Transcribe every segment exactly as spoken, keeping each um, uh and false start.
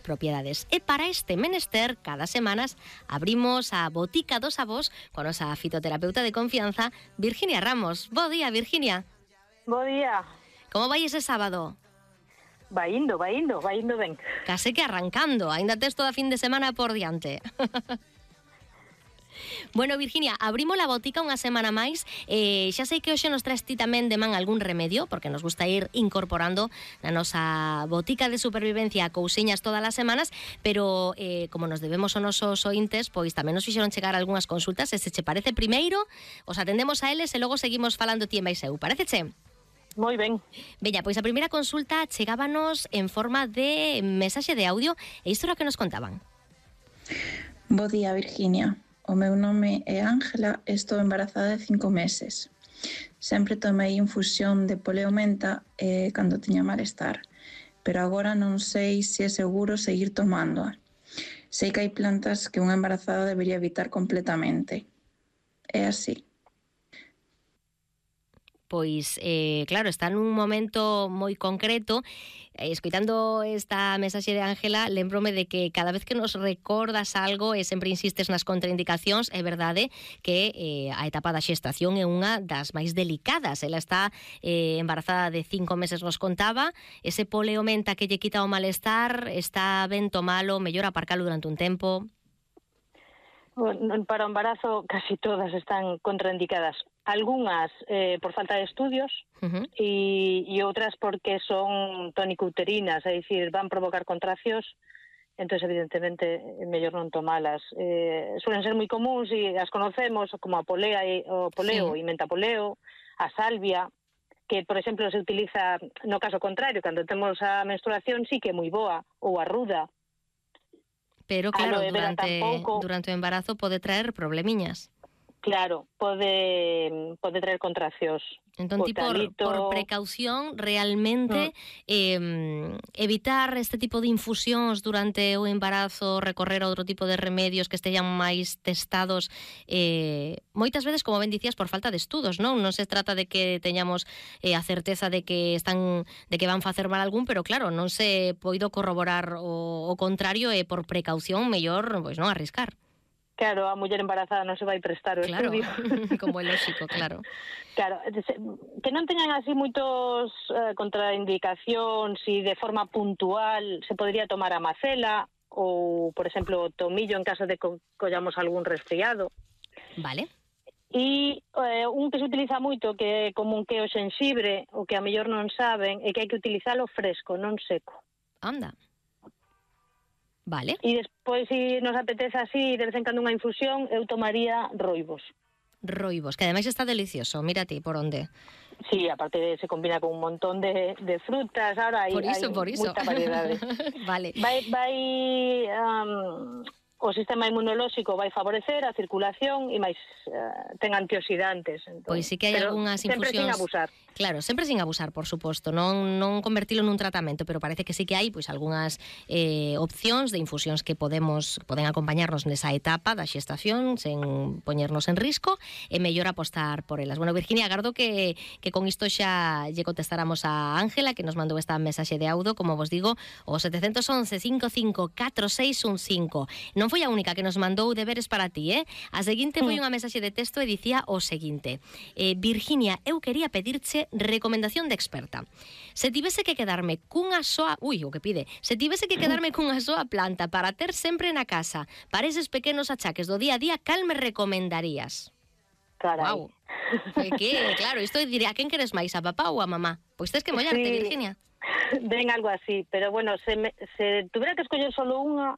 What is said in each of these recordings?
propiedades. E para este menester, cada semanas abrimos a Botica dos Avós con nosa fitoterapeuta de confianza, Virginia Ramos. Bo día, Virginia. Bo día. Como vai ese sábado? Vai indo, vai indo, vai indo ben. Case que arrancando, aínda tes toda fin de semana por diante. Bueno, Virginia, abrimos a botica unha semana máis. eh, Xa sei que hoxe nos traes ti tamén de man algún remedio, porque nos gusta ir incorporando na nosa botica de supervivencia cousiñas todas as semanas. Pero eh, como nos debemos aos nosos ointes, pois tamén nos fixeron chegar algunhas consultas. E se che parece, primeiro os atendemos a eles e logo seguimos falando ti e máis eu. Paréceche? Moi ben. Veña, pois a primeira consulta chegábanos en forma de mensaxe de audio. E isto era o que nos contaban. Bo día, Virginia. O meu nome é Ángela e estou embarazada de cinco meses. Sempre tomei infusión de poleomenta eh, cando tiña malestar, pero agora non sei se é seguro seguir tomándoa. Sei que hai plantas que unha embarazada debería evitar completamente. É así. Pois, eh, claro, está nun momento moi concreto. eh, Escoitando esta mensaxe de Ángela, lembrome de que cada vez que nos recordas algo e sempre insistes nas contraindicacións, é verdade que eh, a etapa da xestación é unha das máis delicadas. Ela está eh, embarazada de cinco meses, nos contaba. Ese poleomenta que lle quita o malestar, está ben tomalo, mellor aparcalo durante un tempo? Bueno, para o embarazo casi todas están contraindicadas. Algúnas eh, por falta de estudios Uh-huh. e, e outras porque son tónico-uterinas, é dicir, van provocar contraccións, entón evidentemente é mellor non tomalas. Eh, suelen ser moi comuns e as conocemos como a polea e o poleo Sí. e mentapoleo, a salvia, que, por exemplo, se utiliza no caso contrario, cando temos a menstruación sí que é moi boa, ou a ruda. Pero claro, aloe vera durante, tampouco. durante o embarazo pode traer problemiñas. Claro, pode pode traer contraccións. Entón, ti por, Botalito. por precaución, realmente, mm. eh, evitar este tipo de infusións durante o embarazo, recorrer a outro tipo de remedios que estean máis testados, eh, moitas veces, como ben dicías, por falta de estudos, non? Non se trata de que teñamos eh, a certeza de que están de que van facer mal algún, pero claro, non se poido corroborar o, o contrario, e por precaución, mellor, pois non arriscar. Claro, a muller embarazada non se vai prestar o Claro, estudio. como é lógico, claro. Claro, que non teñan así moitos eh, contraindicacións e de forma puntual se podría tomar a macela ou, por exemplo, o tomillo en caso de que collamos algún resfriado. Vale. E eh, un que se utiliza moito, que é común, que é o xenxibre, o que a mellor non saben, é que hai que utilizalo fresco, non seco. Anda. Vale. E despois, se nos apetece así, de vez en cando unha infusión, eu tomaría roibos. Roibos, que ademais está delicioso. Mira ti, por onde. Sí, aparte de, se combina con un montón de, de frutas, ahora hai, Por iso, hai por iso. moita variedade. Vale. Vai, vai um, o sistema inmunolóxico vai favorecer a circulación e máis uh, ten antioxidantes. Entón, Pois sí que hai algunhas infusións. Sempre sin abusar. Claro, sempre sin abusar, por suposto, non non convertilo nun tratamento, pero parece que sí que hai pois algunhas eh, opcións de infusións que podemos poden acompañarnos nesa etapa da xestación sen poñernos en risco, e mellor apostar por elas. Bueno, Virginia, agardo que, que con isto xa lle contestáramos a Ángela, que nos mandou esta mensaxe de audio, como vos digo, o sete once, cinco cinco catro seis un cinco. Non foi a única que nos mandou deberes para ti, eh? A seguinte foi unha mensaxe de texto e dicía o seguinte: eh, Virginia, eu quería pedirche recomendación de experta. Se tivese que quedarme cunha soa... Ui, o que pide. Se tivese que quedarme cunha soa planta para ter sempre na casa, para eses pequenos achaques do día a día, cal me recomendarías? Carai. Wow. Que, claro, isto diría, a quen queres máis, a papá ou a mamá? Pois tes que mollarte, Sí. Virginia. Ven algo así, pero bueno, se, me, se tuviera que escoller solo unha,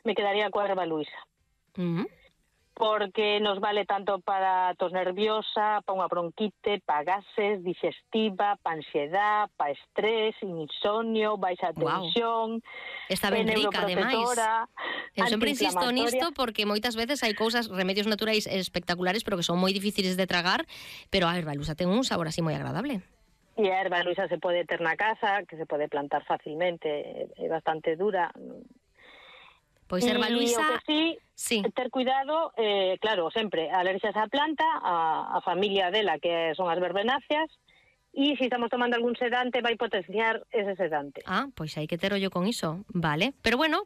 me quedaría coa erva luisa. Uh -huh. Porque nos vale tanto para tos nerviosa, para unha bronquite, para gases, digestiva, para ansiedad, para estrés, insomnio, baixa tensión. Wow. Está ben rica, ademais. Eu sempre insisto nisto porque moitas veces hai cousas, remedios naturais espectaculares, pero que son moi difíciles de tragar, pero a erva luisa ten un sabor así moi agradable. E a erva luisa se pode ter na casa, que se pode plantar facilmente, é bastante dura. Pois erva luisa... E o que sí, sí, ter cuidado, eh, claro, sempre, alerxias á planta, a, a familia dela, que son as verbenáceas, e se estamos tomando algún sedante vai potenciar ese sedante. Ah, pois hai que ter ollo con iso, vale. Pero bueno,